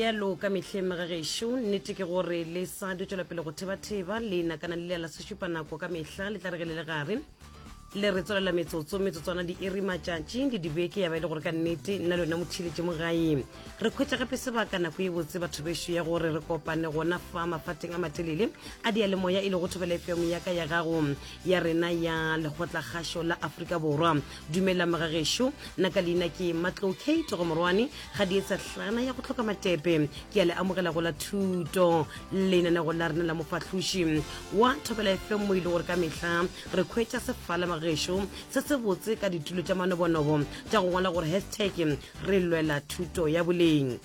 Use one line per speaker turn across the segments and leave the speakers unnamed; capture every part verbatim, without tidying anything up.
Bjalo ka mehleng, magagešo, nnete ke gore le sa di tšwela pele go thebatheba le nakana le la sešupanako ka mehla le tla re ge le le gare le re tswelela metsotso, metsotswana, diiri, matšatši le dibeke, ya ba e le gore ka nnete nna le yona motšhiletše mo gae re khwetša gape sebaka, nako e botse, batho bešo, ya gore re kopane gona fa mafateng a matelele a diyalemoya e lego Thobela F M ya ka, ya gago, ya rena, ya Lekgotlakgašo la Afrika Borwa. Dumela magagešo, nna ka leina ke Matlo Kate go Morwane ga dietsa hlana ya go tlhoka matepe. Ke a le amogela go la thuto lenanego la rena la Mofahloši wa Thobela F M, mo e le gore ka mehla re khwetša sefala magagešo se se botse ka ditulo tša manobonobo tša go ngwala gore hashtag re lwela thuto ya boleng.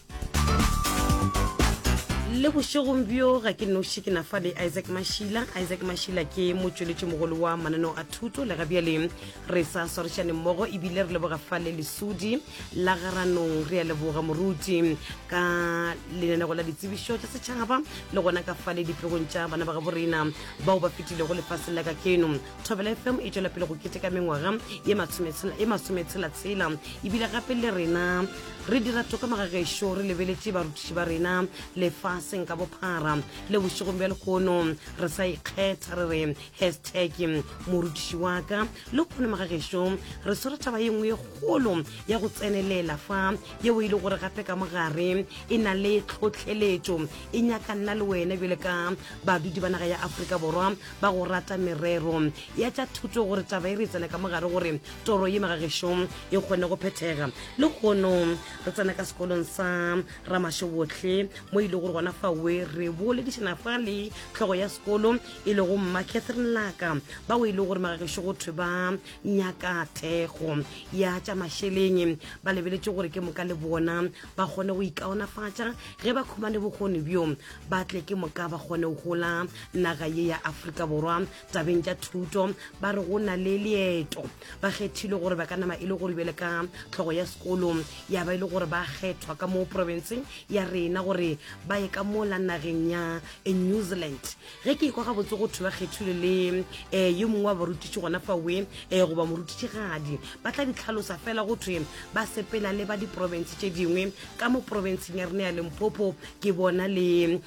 Le bošegong bjo ga ke noši, ke nafa le Isaac Mashila. Isaac Mashila ke motšweletši mogolo wa mananeo a thuto, le gabjale re sa swarišane mmogo, ebile re leboga fa le lesodi la garanong. Re a leboga moruti ka lenanego la ditsebišo tša setšhaba, le gona ka fa le dipegong tša bana ba gabo rena bao ba fetilego lefaseng la ka keno. Thobela F M e tšwela pele go keteka mengwaga ye masometshela-tshela, ebile gape le rena re dira toka magagešo, re lebeletše barutiši ba rena lefaseng ka bophara. Le bošegong bja lehono re sa ikgetha, re re hashtag morutiši wa ka. Le kgone magagešo re swere taba ye nngwe ye kgolo ya go tsenelela fa, yeo e le gore gape ka mogare e na le tlhotlheletšo, e nyaka nna le wena bjale ka badudi ba naga ya Afrika Borwa ba go rata merero ya tša thuto, gore taba e re tsene ka mogare gore toro ye magagešo e kgone go phethega. Le kgono re tsena ka sekolong sa Ramashebotlhe, mo e le gore gona fawe re boledišana fa le tlhogo ya sekolo e lego Mma Catherine Laka, bao e le gore magagešo go thwe ba nyaka thekgo ya tša mašeleng, ba lebeletše gore ke moka le bona ba kgone go ikaonafatša ge ba khumane bokgoni bjo, ba tle ke moka ba kgone go gola naga ye ya Afrika Borwa tabeng tša thuto. Ba re go na le leeto, ba kgethile gore ba ka nama e le gore bjale ka tlhogo ya sekolo ya ba e le gore ba kgethwa ka mo provinceng ya rena gore ba ye ka mola nageng ya New Zealand. Ge ke ikwa gabotse, go thwe ba kgethile le um yo mongwe wa barutiši gona fawe, um goba morutišigadi, ba tla di tlhalosa fela. Go thwe ba sepela le ba diprovince tše dingwe ka mo provinceng ya rena ya Limpopo. Ke bona le um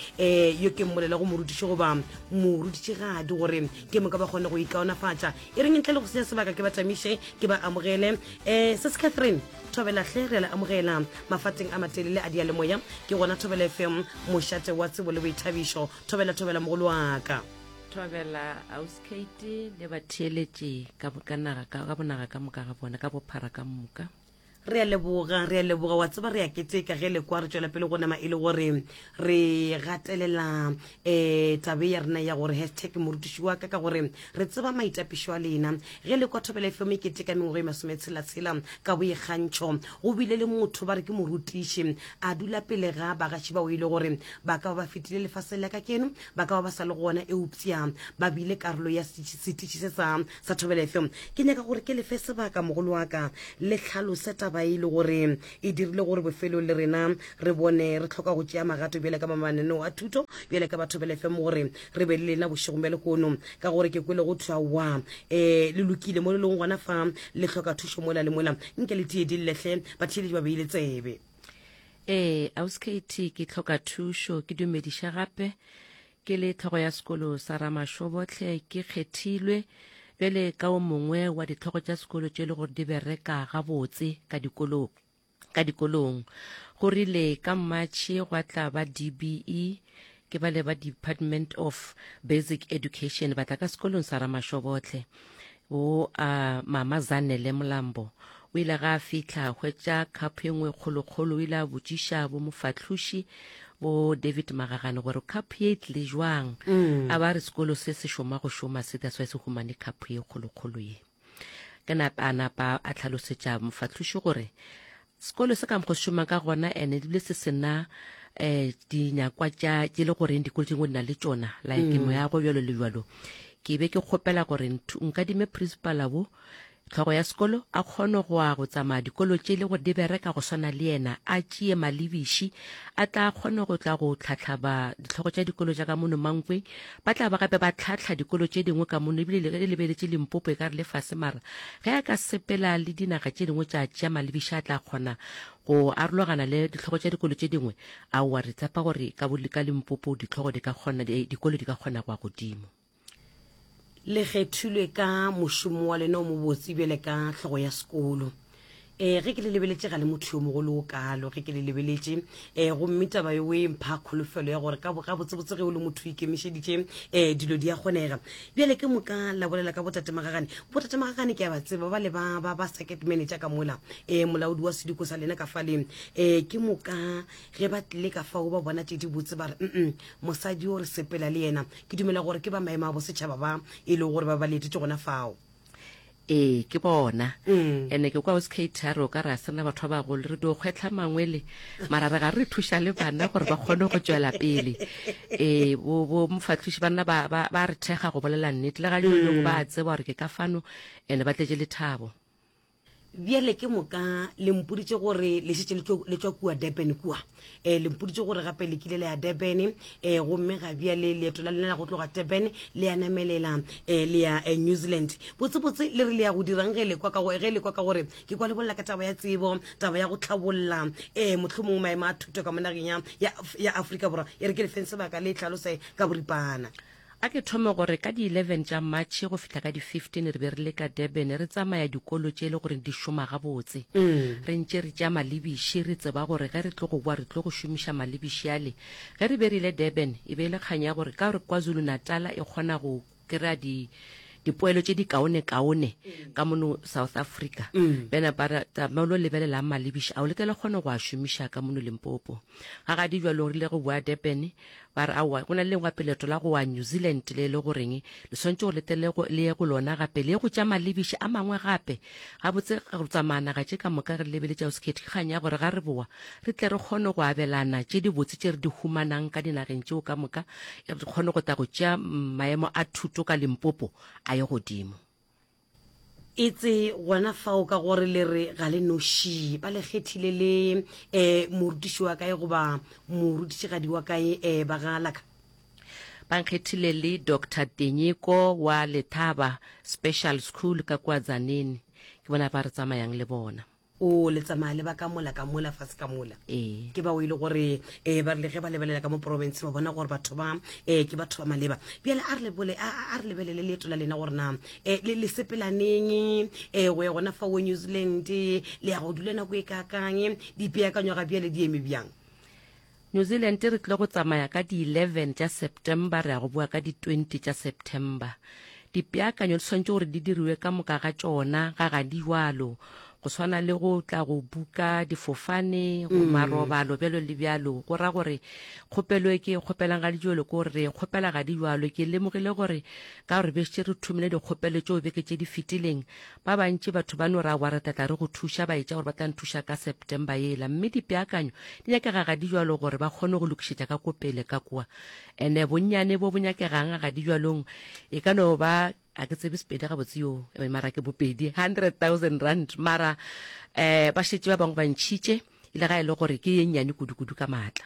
yo ke mmolela go morutiši goba morutišigadi gore ke moka ba kgone go ikaonafatša. E reng ntle le go senya sebaka, ke ba tamiše, ke ba amogele. um se se Catherine, thobelahle, re a le amogela mafateng a matelele a dialemoya ke gona Thobela F M, mošate wa tsebo le boithabišo. Thobela, thobela mogolo wa ka.
Thobela, auskate, le batheeletše ka ka naga ka ka bonaga ka moka ga bona, ka bophara ka moka.
Re a leboga, re a leboga. Wa tseba, re a keteka ge le kwa re tšwela pele go nama e le gore re gatelela um tabe ya rena ya gore hashtag morutiši wa ka, ka gore re tseba maitapišo a lena. Ge le kwa Thobela F M e keteka mengwaga e masometshela-tshela ka boikgantšho, go bile le motho ba re ke morutiši, a dula pele ga bagaši bao e le gore ba ka ba ba fetile lefaseng la ka keno, ba ka ba ba sa le gona, eupša ba bile karolo ya setiši se sa sa Thobela F M. Ke nyaka gore ke lefe sebaka, mogolo wa ka, le tlhalose taba e le gore e dirile gore bofelong le rena re bone re tlhoka go tšea magato bjale ka mananeo a thuto, bjale ka batho Thobela F M, gore re be le lena bošegong bja lekono, ka gore ke kwele go thwa wa um le lokile mo le leng gona fa, le hloka thušo mola le mola. Nke le tie di llehle, batheeletši ba beile tsebe.
Ee, auskate, ke tlhoka thušo. Ke dumediša gape ke le tlhogo ya sekolo sa Ramašobotlhe. Ke kgethilwe bjale ka o mongwe wa ditlhogo tša sekolo tše le gore di bereka gabotse ka dikolong ka dikolong Go rile ka Matšhe gwa tla ba D B E, ke ba le ba Department of Basic Education, ba tla ka sekolong sa Ramašobotlhe. Bo a Mama Zanele Molambo o ile ga a fitlha hwetša cup ye nngwe kgolokgolo. O ile a botšiša bo mofahloši bo David Magagane gore cup ye e tlile jwang mm. A ba re sekolo se se šoma go šoma se, that's why se humane cup ye kgolokgolo ye. Ke napa a napa a tlhalosetša mofahloši gore sekolo se ka mokgo se šoma ka gona, ene ebile se sena um dinyakwa tša tše le goreng dikolo tše dingwe di na le tšona, like mm. moago bjalo le bjalo. Ke be ke kgopela gore nkadime principala bo Hlogo ya sekolo a kgone go a go tsamaya dikolo tše le gore di bereka go swana le yena, a tšee malebiši a tla kgone go tla go tlhahla ba dihlogo tša dikolo tša ka mono Mankweng. Ba tla ba gape ba tlhahla dikolo tše dingwe ka mono, ebile le ge le lebeletše Limpopo e ka re le fase, mara ge a ka sepela le dinaga tše dingwe tša tšea malebiši a tla kgona go arologana le dihlogo tša dikolo tše dingwe. Aowa, re tshepa gore ka, ka Limpopo dihlogo di ka kgona, dikolo di ka kgona go ya godimo.
Le kgethilwe ka mošomo wa lena o mobotse bjale ka hlogo ya sekolo. E, ge ke le lebeletše ga le motho yo mogolo o kalo, ge ke le lebeletše, e, gomme taba yeo e mpha kholofelo ya gore ka gabotsebotse ge o le motho o ikemišeditše, e, dilo di a kgonega. Bjale ke moka la bolela ka botate Magagane. Botate Magagane ke a ba tseba, ba le ba, ba, ba circuit manager ka mola, e, molaodi wa sediko sa lena ka fale. E, ke moka ge ba tlile ka fao ba bona tše di botse ba re, mm, mosadi o re sepela le yena. Ke dumela gore ke ba maemo a bosetšhaba ba e lego gore ba ba letetše gona fao.
Ee, ke bona. Ene ke kwa Ausi a re o ka re a sena batho ba bagolo, re dio kgwehla mangwele, mara re ga re thuša le bana gore ba kgone go tšwela pele. Ee, bo, bo mofahloši ba nna ba, ba, ba re thekga go bolela nnete, le ga jalo ba a tseba gore ke ka fano, ene ba tletše lethabo.
Bjale ke moka le mpoditše gore le šetše le tšwa kua Durban kua. E, le mpoditše gore gape le kile le ya Durban, e, gomme ga bjale leeto la lena la go tloga Durban le ya namelela e, le ya e, New Zealand. Botsebotse le re le ya go dirang ge le kwa ka go, ge le kwa ka gore ke kwa le bolela ka taba ya tsebo, taba ya go tlhabolla e, mohlomongwe maemo a thuto ka mo nageng ya, ya, ya Afrika Borwa. E re ke le feng sebaka le hlalose ka boripana.
A ke thome gore ka di eleven tša Matšhe go fihla ka di fifteen re be re le ka Durban re tsamaya dikolo tše e le gore di šoma gabotse. Re ntše re tšea malebiši re tseba gore ge re tlo go boa re tlo go šomiša malebiši ale. Ge re be re ile Durban e be e le kgang ya gore ka gore KwaZulu-Natal e kgona go kry-a di dipoelo tše di kaone-kaone ka mono South Africa. Bjana ba re tama o lo lebelelang malebiši ao le tle le kgone go a šomiša ka mono Limpopo. Ga gadi bjalo re ile go boa Durban ba re aowa go na le lengwe gape leeto la go wa New Zealand le le goreng le swanetše gore le tle le ye go lona gape le ye go tša malebiši a mangwe gape. Gabotse go tsamaya naga tše ka moka re lebeletše Ausi Kate ke kgang ya gore ga re boa re tle re kgone go abelana tše dibotse tše re di humanang ka dinageng tšeo ka moka, re kgone go tla go tšea maemo a thuto ka Limpopo a ye godimo.
Etse gona fao ka gore le re ga le noši, ba le kgethile le um morutiši wa kae goba morutišigadi wa kae um ba ga laka?
Ba nkgethile le Doctor Tenyiko wa Lethaba Special School ka kua Tzaneen, ke bona ba re tsamayang le bona.
O le tsamaya le ba ka mola ka mola fase ka mola.
Ee.
Ke bao e le gore eh, ba rile ge ba lebelela ka mo province ba bona gore batho ba eh, ke batho ba maleba. Bjale a re lebole a a re lebelele leeto la lena gore na eh, le le sepelaneng eh, go ya gona fa wo New Zealand, le ya go dula nako e kakang, dipeakanyo ga bjale di eme bjang?
New Zealand re tlile go tsamaya ka di eleven tša September, re ya go boa ka di twenty tša September. Dipeakanyo di swanetše gore di diriwe ka moka ga tšona ga ga di jwalo, go swana le go tla go buka difofane, go marobalo bjalo le bjalo. Go ra gore kgopelo e ke e kgopelang ga di jwalo ke gore re e kgopela ga di jwalo. Ke lemogile gore ka gore be šetše re thomile dikgopelo tšeo beke tše di fetileng, ba bantši batho ba no ra wa re tla tla re go thuša, ba etša gore ba tla nthuša ka September yela, mme dipeakanyo di nyakega ga di jwalo gore ba kgone go lokišetša ka ko pele ka kua. Ene bonnyane bo bo nyakegang ga di jwalong e ka no ba a ke tsebe Sepedi gabotse yo, mara ke bopedi hundred thousand rand, mara eh ba šetše ba bangwe ba ntšhitše e le ga e le gore ke ye nnyane kudu-kudu ka maatla.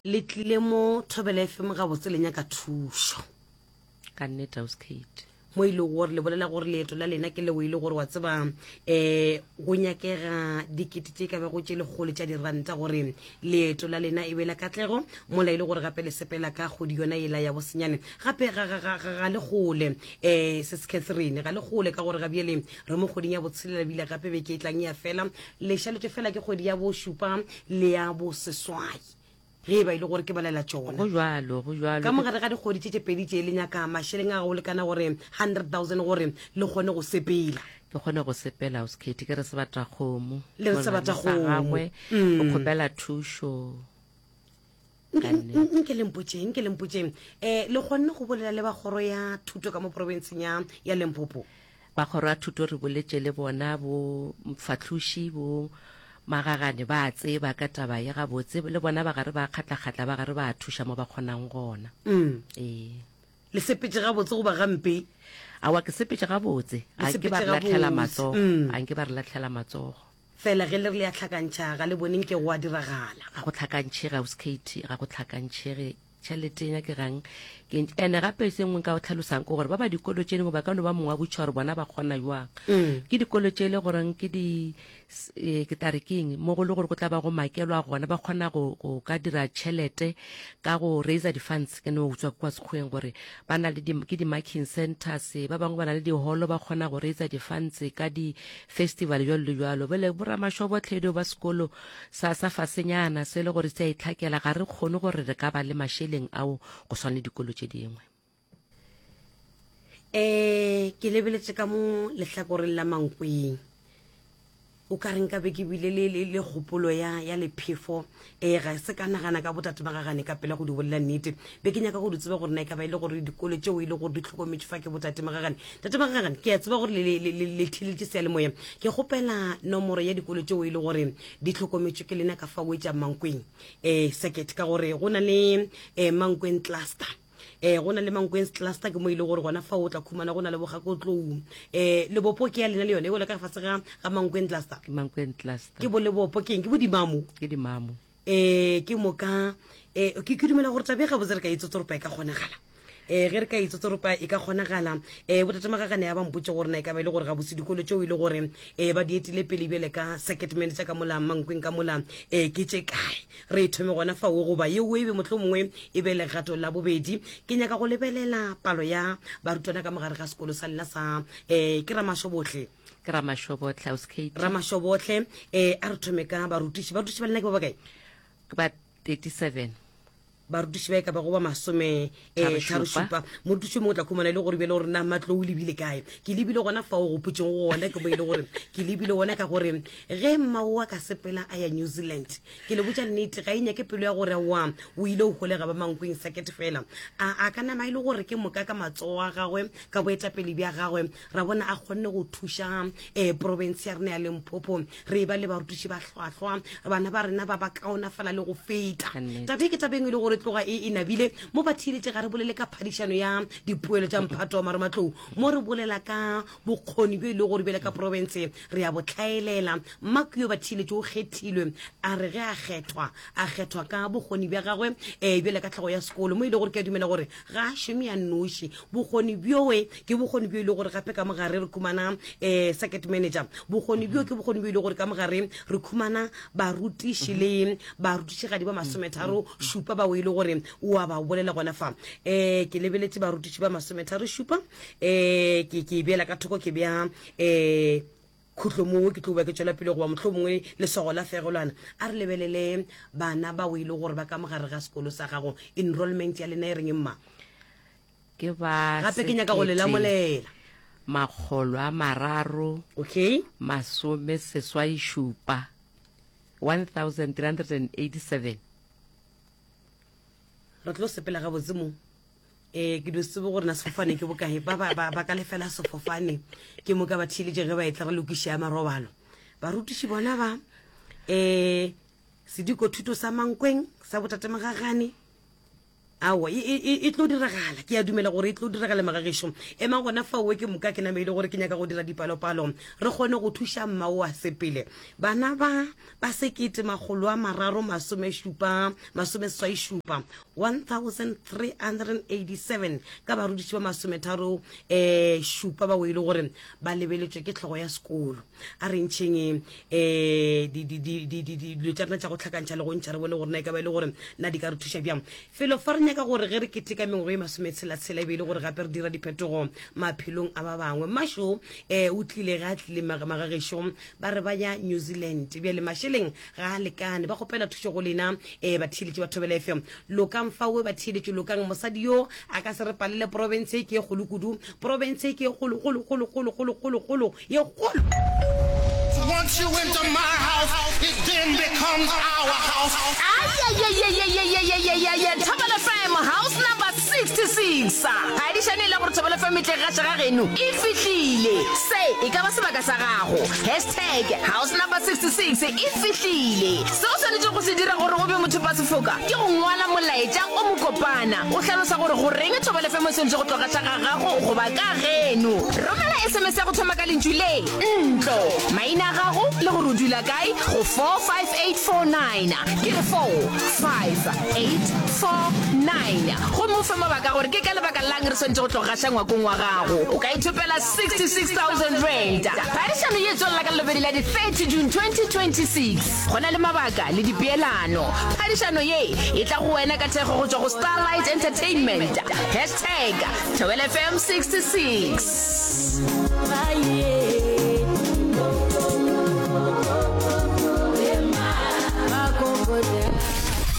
Le tlile mo Thobela F M gabotse le nyaka thušo.
Ka nnete Ausi Kate.
Mo e lego gore le bolela gore leeto la lena ke leo e le gore wa tseba um go nyakega dikete tše ka bego tše lekgolo tša diranta gore leeto la lena e be la katlego, mola e le gore gape le sepela ka kgwedi yona yela ya bosenyane. Gape ga, ga, ga, ga, ga le kgole um Sis Catherine, ga le kgole ka gore ga bjale re mo kgweding ya botshelela, ebile gape beke e tlang ya fela, le šaletšwe fela ke kgwedi ya bošupa le ya boseswai ge e ba e le gore ke balela tšona.
Go jwalo, go jwalo.
Ka mogare ga dikgwedi tše tše pedi tše le nyaka mašeleng a go lekana gore hundred thousand gore le kgone go sepela.
Ke kgone go sepela, Ausi Kate, ke re sebatakgomo.
Le re sebatakgomo.
Gagwe, o kgopela thušo.
Nke le mpotšeng, nke le mpotšeng. Eh, le kgonne go bolela le ba kgoro ya thuto ka mo provinceng ya, ya Limpopo?
Ba kgoro ya thuto re boletše le bona, bo mfahloši, bo Magagane ba tseba ka taba ye gabotse, le bona ba gare ba kgatla-kgatla, ba gare ba thuša mo ba kgonang gona.
Mm.
Ee.
Le sepetše gabotse goba gampe?
Aowa, ke sepetše gabotse.
Le
A nke ba
sepetše
re lahlela
gabotse.
matsogo.
Mm.
A nke ba re lahlela matsogo.
Fela ge le re le a hlakantšha, ga le bone nke go a diragala.
Ga go hlakantšhege, Ausi Katie, ga go hlakantšhege. Tšhelete e nyakegang ke ntši. Ene gape se nngwe nka o tlhalosang ke gore ba ba dikolo tše dingwe ba ka no ba mongwe wa botšiša gore bona ba kgona jwang.
Mm.
Ke dikolo tše e le goreng ke di, s-, eh, ke tla re ke eng, mo go le gore go tla ba go makelwa gona, ba kgona go, go ka dira tšhelete ka go raiser di-funds. Ke no utswa kwa sekgweng gore ba na le di, ke di-marking centers, ba bangwe ba na le diholo, ba kgona go raiser di-funds ka di-festival jwalo le jwalo. Bjale boramashobotlhe ba sekolo sa, sa fasenyana se le gore se a itlhakela, ga re kgone gore re ka ba le mašeleng ao go swana le dikolo tše dingwe.
Eh, ke lebeletše ka mo lehlakoreng la Mankweng. O ka re nka be ke bile le, le, le kgopolo ya, ya lephefo. Eh, ga se ka nagana ka botate ba gagane ka pela go di bolela nnete. Be ke nyaka go di tseba gore na e ka ba e le gore dikolo tšeo e le gore di hlokometšwe fa ke botate magagane. Tate Magagane, ke a tseba gore le, le, le, le, le theeletše seyalemoya. Ke kgopela nomoro ya dikolo tšeo e le gore di hlokometšwe ke lena ka fao e tša Mankweng. Eh, circuit, ka gore go na le, eh, Mankweng cluster. Eh, go na le Mankweng cluster ke mo ile gore gona fa o tla khumana go na le bogakotlou. Eh, Lebopo ke ya lena le yone, e wela ka fase ga, ga Mankweng cluster.
Ke Mankweng cluster.
Ke bo Lebopo ke eng? Ke bo Dimamo.
Ke Dimamo.
Eh, ke moka, eh, ke, ke dumela gore taba e gabotse re ka itsotsoropa e ka kgonagala. Eh, ge re ka itsotsoropa e ka kgonagala. Eh, botate Magagane ya ba mpotše gore na e ka ba e le gore gabotse dikolo tšeo e le gore, eh, ba di etile pele bjale ka circuit manager ka mola Mankweng ka mola, eh, ke tše kae. Re e thome gona fao goba yeo e be mohlomongwe e be legato la bobedi. Ke nyaka go lebelela palo ya barutwana ka mogare ga sekolo sa lena sa, eh, ke Ramashobohle.
Ke Ramashobohle, Ausi Katie.
Ramashobohle, eh, a re thome ka barutiši. Barutiši ba lena ke ba bakae?
Ke ba thirty-seven.
Barutiši ba e ka bago ba masome, eh,
Tharo
tharo
šupa.
šupa. Morutiši mongwe o tla khumana e le gore bjale gore na matlo o lebile kae. Ke lebile gona fao go gopotšeng go gona, ke mo e le gore ke lebile gona ka gore ge mmao wa ka sepela a ya New Zealand, ke le botša nnete, ga e nyake pelo ya gore wa o ile o holega ba Mankweng circuit fela. A, a ka nama e le gore ke moka ka matsogo a gagwe, ka boetapele bja gagwe, ra bona a kgonne go thuša, eh, province ya rena ya Limpopo. Re ba le barutiši ba hlwahlwa, bana ba rena ba ba kaonafala le go feta.
Ka nnete.
Taba e ke taba e nngwe e le gore tloga e, e nabile mo ba theeletše. Ga re bolele ka phadišano ya dipoelo tša mphato wa marematlou, mo re bolela ka bokgoni bjo e le gore bjale ka province re ya bo tlhaelela. Mmaku yo ba theeletše o kgethilwe, a re ge a kgethwa, a kgethwa ka bokgoni bja gagwe, eh, bjale ka tlhogo ya sekolo, mo e le gore ke a dumela gore ga a šome ya noši. Bokgoni bjoe ke bokgoni bjo e le gore gape ka mogare re khumana, eh, circuit manager. Bokgoni bjo ke bokgoni bjo e le gore ka mogare re khumana barutiši le barutišigadi ba masometharo šupa bao e le gore o a ba bolela gona fa. Eh, ke lebeletše barutiši ba masometharo šupa, eh, ke, ke beela ka thoko, ke bea, eh, khutlo mongwe ke tlo ba ke tšwela pele goba mohlomongwe leswago la fegelwana. A re lebelele bana bao e le gore ba ka mogare ga sekolo sa gago. Enrollment ya lena e reng mma?
Ke ba
Gape ke nyaka go le
sekete
lamolela.
makgolo a mararo
Okay.
masome seswai šupa, one thousand three hundred and eighty-seven.
Re tlo sepela gabotse mo. Eh, ke dio tsebe gore na sefofane ke bokae. Ba, ba, ba, ba ka lefela sefofane. Ke moka ba theeletše ge ba etla re lokiše ya marobalo. Barutiši bona ba, eh, sediko thuto sa Mankweng sa botate Magagane. Aowa, e, e, e, e tlo diragala. Ke a dumela gore e tlo diragala magagešo. Emang gona fao ke moka ke name e le gore ke nyaka go dira dipalopalo. Re kgone go thuša mma o a sepele. Bana ba, ba sekete makgolo a mararo masome šupa, masome seswai šupa, one thousand three hundred and eighty-seven ka barutiši ba masometharo, eh, šupa bao e le gore ba lebeletšwe ke tlhogo ya sekolo. A re ntšheng, eh, di, di, di, di, di, di, dilo tša rena tša go hlakantšha le go ntšha, re bone gore na e ka ba e le gore na di ka re thuša bjang. Felo fa re nyaka gore ge re keteka mengwaga e masometshela-tshela e be e le gore gape re dira diphetogo maphelong a ba bangwe. Mmašo, eh, o tlile ge a tlile mag-, magagešo, ba re ba ya New Zealand. Bjale mašeleng ga a lekane, ba kgopela thušo go lena, eh, batheeletši ba Thobela F M. Lokang fawe batheeletši, lokang. Mosadi yo a ka se re palele province e ke e kgolo kudu, province e ke e kgolo, kgolo, kgolo, kgolo, kgolo, kgolo, kgolo, ye kgolo.
Once you enter my house, it then becomes our house.
Ay, ay, ay, ay, ay, ay, ay, ay, ay, ay, ay, Thobela F M, house number six sixty-six. Phadišano e le gore Thobela F M e tle gaša ga geno e fihlile. Se e ka ba sebaka sa gago. Hashtag house number sixty-six e fihlile. Se o swanetše go se dira gore o be mothopasefoka ke go ngwala molaetša o mokopana o hlalosa gore goreng Thobela F M e swanetše go tlo gaša ga gago goba ka geno. Romela S M S ya go thoma ka lentšu le ntlo, maina a gago le gore o dula kae go four five eight four nine. Ke re four five eight four nine, gomme o fe mabaka gore ke ka lebaka lang re swanetše go tlo gaša ngwakong wa gago. O ka ithopela sixty-six thousand rand. Phadišano ye tswelela ka Labobedi la di thirty June twenty twenty-six. Go na le mabaka le dipeelano. Phadišano ye e tla go wena ka thekgo go tšwa go Starlight Entertainment. Hashtag Thobela F M sixty-six.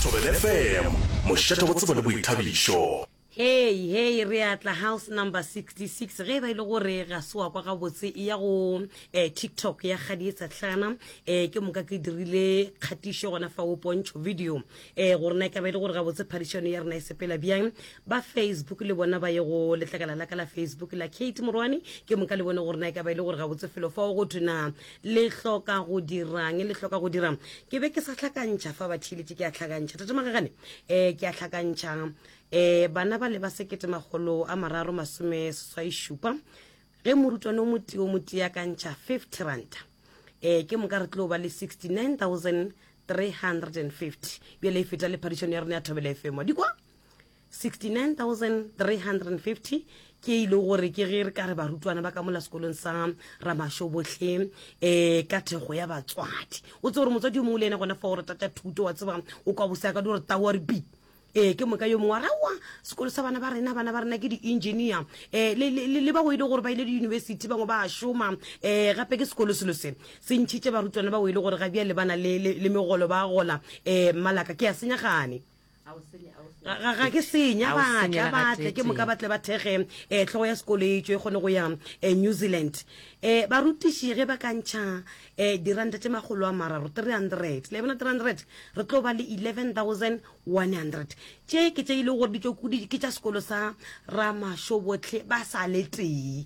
Thobela F M, mošate wa tsebo le boithabišo.
Hei hei, re atla house number sixty-six. Ge e ba e le gore ga se wa kwa gabotse, e ya go um TikTok ya Kgadietsa Tlhana, um ke moka ke dirile kgatišo gona fa o pontšho video um gore na e ka ba e le gore gabotse phadišano ya rena e sepela bjang. Ba Facebook le bona ba ye go letlakala la ka la Facebook la Kate Morwane, ke moka le bone gore na e ka ba e le gore gabotse felo fao go thwe na le hloka go dirang, le hloka go dirang. Ke be ke sa hlakantšha fa batheeletše, ke a hlakantšha, tate Magagane, um ke a hlakantšha um bana ba le ba sekete makgolo a mararo masome seswai šupa. Ge morutwana o motee o motee a ka ntšha fifty rand, um ke moka re tlo ba le sixty-nine thousand three hundred and fifty. Bjale e feta le phadišano ya rena ya Thobela F M dikwa. sixty-nine thousand three hundred and fifty ke e le gore ke ge re ka re barutwana ba ka mola sekolong sa Ramašo botlhe um ka thekgo ya batswadi. O tse gore motswadi yo mongwe le ena gona fa o re tata thuto wa tseba o kwa bose ka di gore tao re bi ee ke moka yo mongwe wa raowa sekolo sa bana ba rena, bana ba rena ke di-engineer, um le bao e le gore ba ile di-university, bangwe ba a šoma. um gape ke sekolo selo se se ntšhitše barutwana bao e le gore ga bjale ba na le le- le megolo, ba gola. um malaka ke a senyagane, ga ga ke senya.
Ga o
batla
senyela
batle ke moka
gateetee.
Batle ba thege um tlhogo ya sekolo e tswe e kgone go ya um New Zealand. um barutiši ge ba ka ntšha um diranta tše makgolo a mararo, three hundred, le bona three hundred, re tlo ba le eleven thousand one hundred. Tše ke tše e leng gore di tšo kudi ke tša sekolo sa Ramašo botlhe ba sa le tee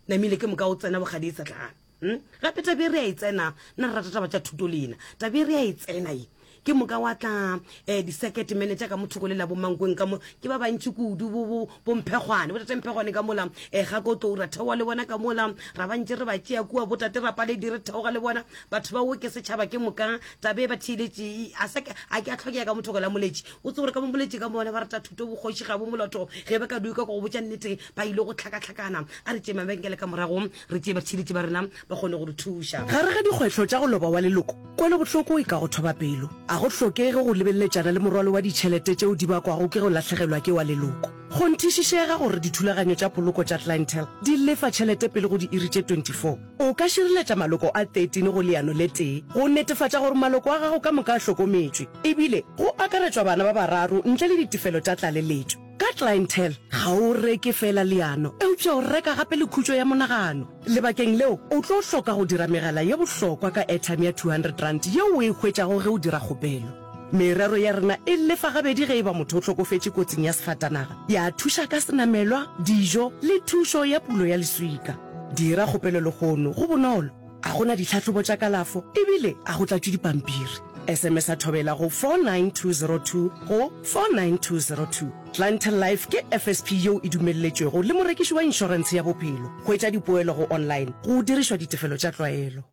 namile. Ke moka o tsena bogadi e tsatlana. Hmm? Gape tabe re a e tsena, nna re rata taba tša thuto lena, tabe re a e tsena ye. Ke moka wa tla um di-circuit manager ka mothoko le la bomankweng ka mo ke ba bantši kudu, bo- bo- bomphegwane, botate Mphegwane ka mola, um ga ko tlou ra theoga le bona ka mola, ra bantše re ba tšea kua, botate Rapaledi re theoga le bona, batho ba wo ke setšhaba. Ke moka tabe ba theeletše a sa a ke a tlhokega ka mothoko la Moletši. O tse gore ka mo Moletši ka mona ba rata thuto, bokgoši ga bo moloto ge ba ka duka ko go botša nnete ba ile go tlhakatlhakana. A re tšee mabenkele ka morago, re tšee batheeletši ba rena ba kgone go re thuša.
Gare ga dikgwetlho tša go loba wa leloko, kwelobohloko e ka go thoba pelo. A go hlokege go lebelletšana le morwalo wa ditšhelete tšeo di bakwago ke go lahlegelwa ke wa leloko. Kgonthišišega gore dithulaganyo tša poloko tša Clientele di lefa tšhelete pele go diiri tše twenty-four. O ka šireletša maloko a thirteen go leano le tee go netefatša gore maloko a gago ka moka a hlokometšwe, ebile go akaretšwa bana ba bararo ntle le ditefelo tša tlaleletšo. Ka Clientele ga o reke fela leano, eupša o reka gape le khutšo ya monagano. Lebakeng leo o tlo hloka go dira megala ye bohlokwa ka airtime ya two hundred rand yeo o e hwetšago ge o dira kgopelo. Merero ya rena e lefa gabedi ge e ba motho o hlokofetše kotsing ya sefatanaga, ya thuša ka senamelwa, dijo le thušo ya pulo ya leswika. Dira kgopelo lehono, go bonolo, a gona ditlhahlobo tša kalafo ebile a go tlatšwe dipampiri. S M S a Thobela go four nine two zero two go four nine two zero two. Clientele Life ke F S P yeo e dumelletšwego le morekiši wa inšorentshe ya bophelo. Hwetša dipoelo go online go dirišwa ditefelo tša tlwaelo.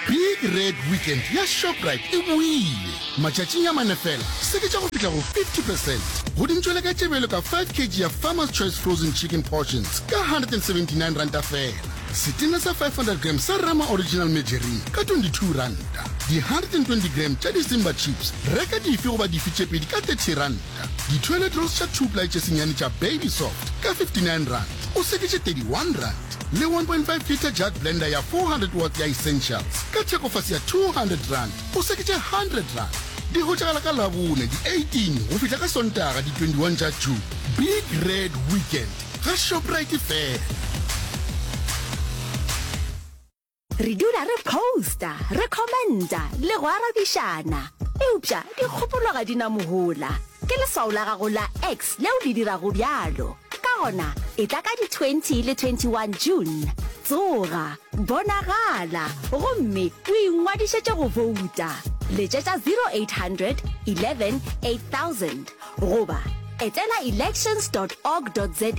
Big Red Weekend ya Shoprite e boile. Matšatšing a mane fela, seketša go fihla go fifty percent go dintšwele ka tšebelo ka five kilograms ya Farmer's Choice frozen chicken portions ka one hundred and seventy-nine ranta fela, setena sa five hundred gram sa Rama Original margarine ka twenty-two ranta, di one hundred and twenty gram tša di-Simba chips, reka dife goba dife tše pedi ka thirty ranta, di-toilet rolls tša two ply tše senyane tša Baby Soft ka fifty-nine rand, o seketše thirty-one rand, le one point five liter jug blender ya four hundred watt ya Essentials ka thekofase ya two hundred rand, o seketše one hundred rand. Di hwetšagala ka Labone di eighteen go fihla ka Sontaga di twenty-one tša June. Big Red Weekend ga Shoprite fela.
Re dula re posta, re commenta le go arabišana, eupša dikgopolo ga di na mohola. Ke leswao la gago la X leo le dirago bjalo. Ka gona, etla ka di twenty le twenty one June. Tsoga, bonagala, gomme o ingwadišetše go bouta. Letšetša zero eight hundred eleven eight thousand goba etela elections dot org dot za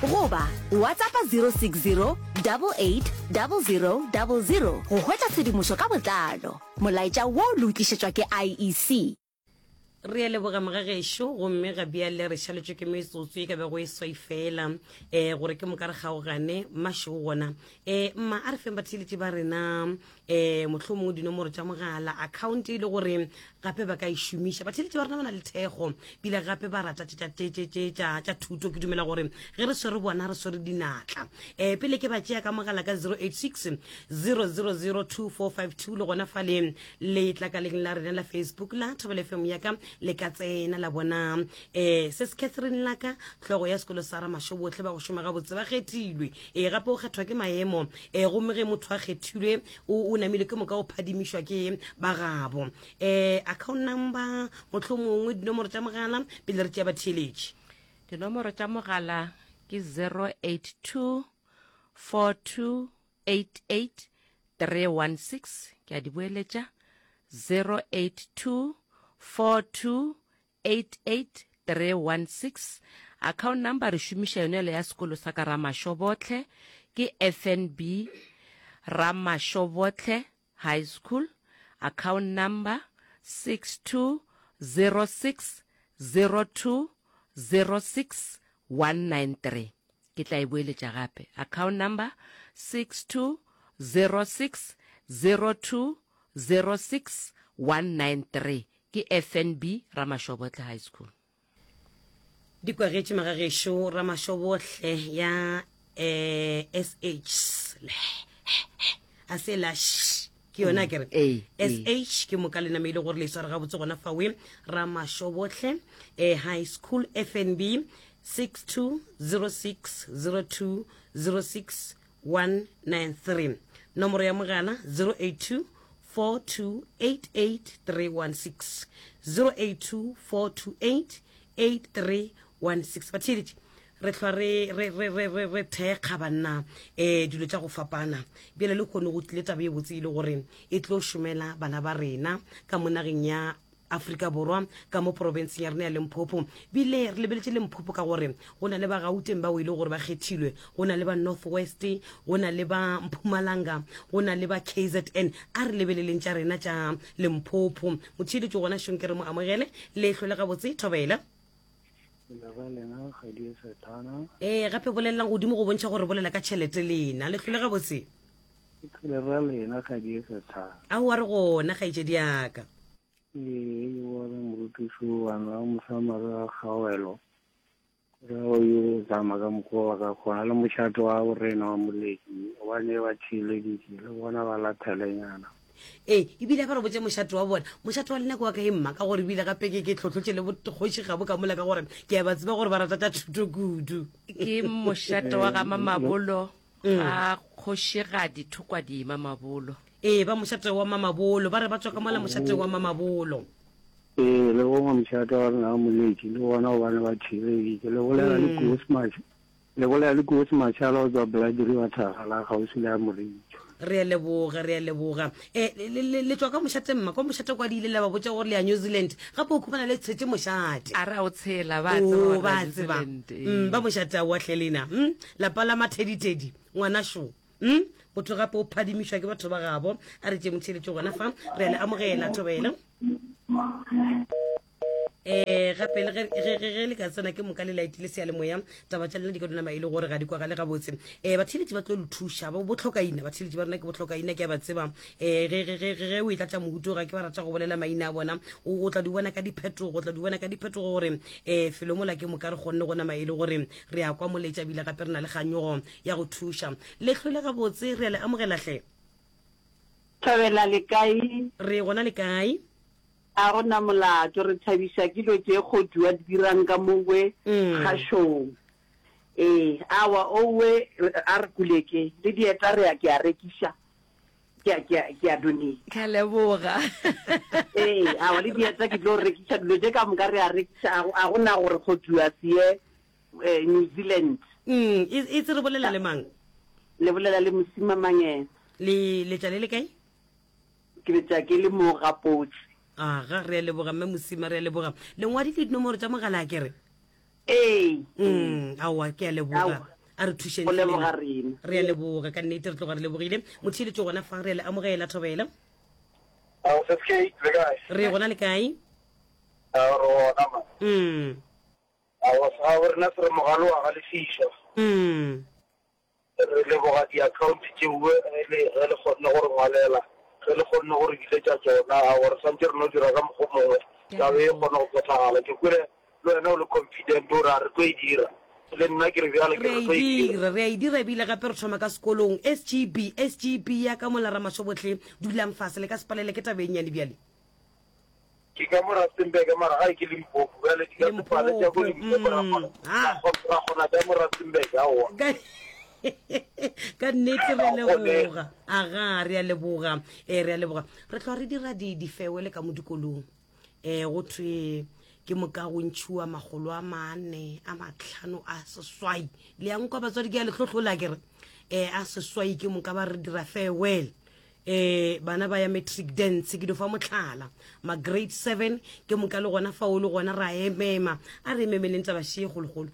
goba WhatsAppa zero six zero double eight double zero double zero go hwetša tshedimošo ka botlalo. Molaetša wo le o tlišetšwa ke I E C.
Re a leboga mogagešo, gomme ga bjale re šaletšwe ke metsotso e ka bego e swai fela um gore ke moka re kgaogane mašego gona. Um mma, a re feng batheeletši ba rena um mohlomongwe dinomoro tša mogala, account e le gore gape ba ka e šomiša. Batheeletši ba rena ba na le thekgo, bile gape ba rata tše tša, tše, tše, tše, tša, tša thuto. Ke dumela gore ge re swere bona re swere dinatla. Um pele ke ba tšea ka mogala ka zero eight six zero zero zero two four five two, le gona fale letlakaleng la rena la Facebook la Thobela F M ya ka, le ka tsena la bona um se se Catherine Laka, hlogo ya sekolo sa Ramasho, bohle ba go šoma gabotse ba kgethilwe. Ee, gape o kgethwa ke maemo, um gomme ge motho a kgethilwe o, o namile ke moka o phadimišwa ke ba gabo. Um account number, mohlomongwe dinomoro tša mogala pele re tšea batheeletši.
Dinomoro tša mogala ke zero eight two four two eight eight three one six, ke a di boeletša, zero eight two four two eight eight three one six. Account number re šomiša yone le ya sekolo sa ka Ramashobotle, ke F N B Ramashobotle High School, account number six two zero six zero two zero six one nine three. Ke tla e boeletša gape, account number six two zero six zero two zero six one nine three, ke F N B Ramashobotle High School.
Di kwagetše magagešo Ramashobotle ya, eh, S H a se la sh, ke yona ke re
Mm,
S H ke moka le namile gore le sware gabotse gona fawe Ramashobotle, eh, High School, F N B six two zero six zero two zero six one nine three. Nomoro ya mogala zero eight two four two eight eight three one six, zero eight two four two eight eight three one six. Batheeletši, re hlwa re, re, re, re, re, re thekga banna, eh, dilo tša go fapana. Bjale le kgone go tlile taba e botse e le gore e tlo šomela bana ba rena ka mo nageng ya Afrika Borwa, ka mo porofenseng ya rena ya Limpopo. Bile re lebeletše Limpopo ka gore go na le ba Gauteng bao e le gore ba kgethilwe, go na le ba North West, go na le ba Mpumalanga, go na le ba K Z N. A re lebeleleng tša rena tša Limpopo. Motheeletši gona šong ke re mo amogele, le hlole gabotse, thobela. Ee, gape bolelelang godimo go bontšha gore bolela ka tšhelete lena. Le hlole gabotse? Aowa, re gona, kgaetšedi ya ka.
Ee, ke bona morutiši wa nna Mosamare wa Kgaogelo. Re o yo tsamaya ka mokgwa wa ka kgona le mošate wa borena wa Moleki, gobane ba theeleditše le bona ba lathelenyana.
Ee, ebile ba re botse mošate wa bona. Mošate wa lena ke wa kae mma? Ka gore ebile gape ke, ke tlhotlhotše le bokgoši gabo ka mola, ka gore ke a ba tseba gore ba rata tša thuto kudu.
Ke mošate wa ga Mamabolo, ga kgošigadi Thokwadi Mamabolo.
Ee, ba mošate wa Mamabolo, ba re ba tswa ka mola mošate wa Mamabolo.
Ee, le gongwe mošate wa rena wa Moleki, le bona gobane ba theeleditše. Le bolela le Koos Mash-, le bolela le Koos Mashala go tswa Blood River Thagala, kgauswi le ya Moritšo.
Re a leboga, re a leboga. Eh, le, le, le, le tswa ka mošate mma, kwa mošate kwa di ile la ba botša gore le ya New Zealand, gape o khumana le tshetše mošate.
A re a o tshela, ba
Oh,
tseba gore
ba
New
tseba.
Zealand, ee.
Mm, ba mošate a oahle lena. Mm, lapa la mathedithedi, ngwana šo. Mm, motho gape o phadimišwa ke batho ba gabo. A re tše motheeletšo gona fa, re a le amogela, thobela. Eh, gape le ge, ge, ge, ge le ka tsena ke moka le laetile seyalemoya, taba tša lena di ka dula e le gore ga di kwagale gabotse. Eh, batheeletši ba tlo le thuša, ba botlhokaina, batheeletši ba rena ke botlhokaina, ke a ba tseba. Eh, ge, ge, ge, ge o e tlatša mohuto, ga ke ba rata go bolela maina a bona, o, o tla di bona ka diphetogo, o tla di bona ka diphetogo gore, eh, felo mola ke moka re kgonne go nama e le gore re a kwa moletša, ebile gape re na le kganyogo ya go thuša. Le hlole gabotse, re a le amogela hle.
Thabela le kae?
Re gona le kae?
A gona molato, re thabiša ke dilo tše kgoduwa di dirang ka mowe
Mm.
kgašong. Ee, awa owe, a re kuleke, le dieta re ya ke a rekiša. Ke a, ke a, ke a donate.
Ke a leboga.
Ee, aowa le dieta ke tlo rekiša, dilo tše ka moka re a rekiša, a go, a go na gore kgoduwa se ye eh, New Zealand.
Mm, e, e tse re bolela le mang?
Le bolela le Mosima Mangena.
Le letša le le kae?
Ke letša ke le mo Gapotse.
Aga, re a leboga mme Mosima, re a leboga. Le ngwadile dinomoro tša mogala a ke re?
Ee.
Mm, aowa, ke a leboga.
Aowa.
A re thušeng
Go
hle
leboga
lena.
rena.
Re a leboga ka nnete, re tloga re lebogile. Motheeletši gona fa, re a le amogela, Thobela.
Ao, Sis Kate, le kae?
Re gona le kae?
Ao, re gona ma.
Mm.
Aowa, segabo rena se re mogalo wa galefišwa.
Mm.
Re leboga di-account tšeue ge le, ge le kgonne go re ngwalela, ge le kgonne go re biletša tšona. Aowa, re swantše re no dira ka mokgwa o mongwe,
Ke a
taba e
leboga.
kgone go phethagala. Ke kwele le wena o le confident o re a re tlo e dira. Le nna ke re bjale ke
Re a
re
e
tlo e dira.
dira, re a e dira ebile gape re thoma ka sekolong. S G B, S G B ya ka mola Ramašobohle, dulang fase, le ka se palele ke taba e nnyane bjale.
Ke ka mo Rustenburg mara gae ke Limpopo, bjale di ka se pale tša ko
Limpopo,
Limpopo ra
mm,
kgona,
ha.
ra kgona, ra kgona tša mo Rustenburg, aowa.
Ka, ka nnete re a
Ga go kgonege.
leboga. Aga, re a leboga. Eh, re a leboga. Re tloga re dira di, difewele ka mo dikolong. Eh, go thwe ke moka go ntšhiwa makgolo a mane, a matlhano, a seswai. Le yang kwa batswadi ke a le hlohlola ke re. Eh, a seswai ke moka ba re dira farewell. Eh, bana ba ya matric dance, ke di fa mohlala. Ma grade seven, ke moka le gona fao le gona ra emema. A re ememeleng taba še e kgolokgolo.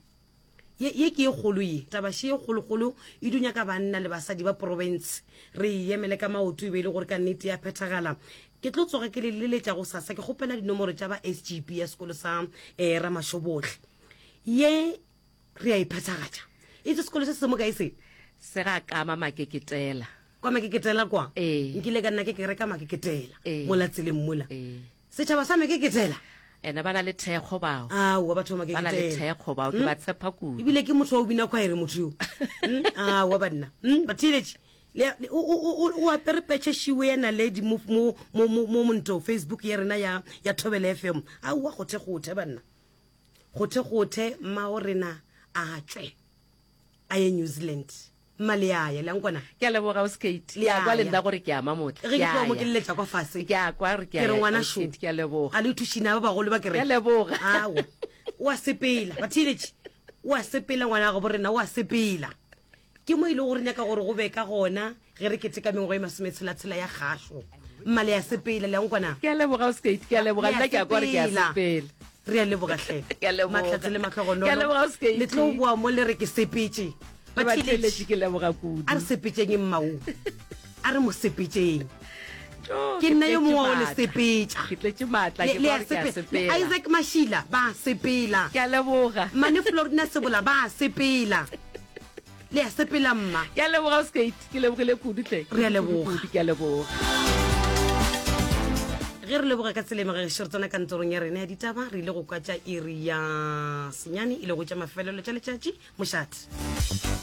Ye, ye ke e kgolo ye, taba še e kgolokgolo e dunya ka banna le basadi ba province. Re e emele ka maoto e be e le gore ka nnete ya phethagala. Ke tlo tsoga ke le leletša go sasa, ke kgopela dinomoro tša ba S G B ya sekolo sa, eh, Ramašobohle. Ye re a e phethagatša. Itse sekolo se se mo kae se?
Se ga kama makeketela.
Kwa makeketela kwa?
Ee.
Nkile ka nna ke ke reka makeketela.
Ee.
Mola tseleng mola.
Ee.
Setšhaba sa makeketela.
Ena ba na le thekgo bao.
Aowa, batho ba
Ba na le
makeketela.
thekgo bao, ke
Hmm?
ba tshepa kudu.
Ebile ke motho wa o bina khwaere motho yo. Hmm? Aowa banna. Hmm? Batheeletši. Le, le, o, o, o, o apere petšhe šiwe ya naledi mo, mo, mo, mo, mo monto Facebook ya rena ya, ya Thobela F M. Aowa, gothe gothe banna. Gothe gothe mmao rena a tšwe. A ye New Zealand. Mma le ya ya, le a nkwana?
Ke a leboga, Ausi Kate.
Le
Ke a kwa le
ya.
nna gore ke a mamotla.
Ge ke
Ke a
tloga mo
ya.
ke leletša kwa fase.
Ke a kwa gore ke a
Ke re
ya,
ngwana
Ausi
šo.
Kate, ke a leboga.
A le thušina ba bagolo ba kereke.
Ke a leboga.
Aowa. O a sepela. Batheeletši. O a sepela ngwana wa gabo rena, o a sepela. Ke mo e lego gore nyaka gore go be ka gona ge re keteka mengwaga e masometshela-tshela ya kgašo. Mma le a sepela, le a nkwana?
Ke a leboga, Ausi Kate, ke a leboga.
Le a
Nna ke a kwa gore ke a
sepela.
sepela.
Re a leboga hle.
Ke a leboga.
Mahlatse le mahlogonolo.
Ke a leboga, Ausi Kate.
Le tlo boa mo le re ke sepetše.
Le
Batheeletši.
batheeletši, ke leboga kudu.
A re sepetšeng mmao. A re mo sepetšeng.
Tjo,
Ke
ke
nna yo
tletše
mongwe wa go le
maatla.
sepetša.
Ke tletše maatla,
Le-
ke
le
kwa
a
gore ke a
sepela. Le
sepela.
Isaac Mashila, ba sepela.
Ke a leboga.
Mmane Florina Sebola, ba sepela. Le a sepela mma.
Ke a leboga, Ausi Kate, ke lebogile kudu hle.
Re a leboga.
Kudu, ke a leboga.
Ge re leboga ka tsela e magagešo, re tsena kantorong ya rena ya ditaba, re ile go kwa tša iri ya senyane, e lego tša mafelelo tša letšatši. Mošate.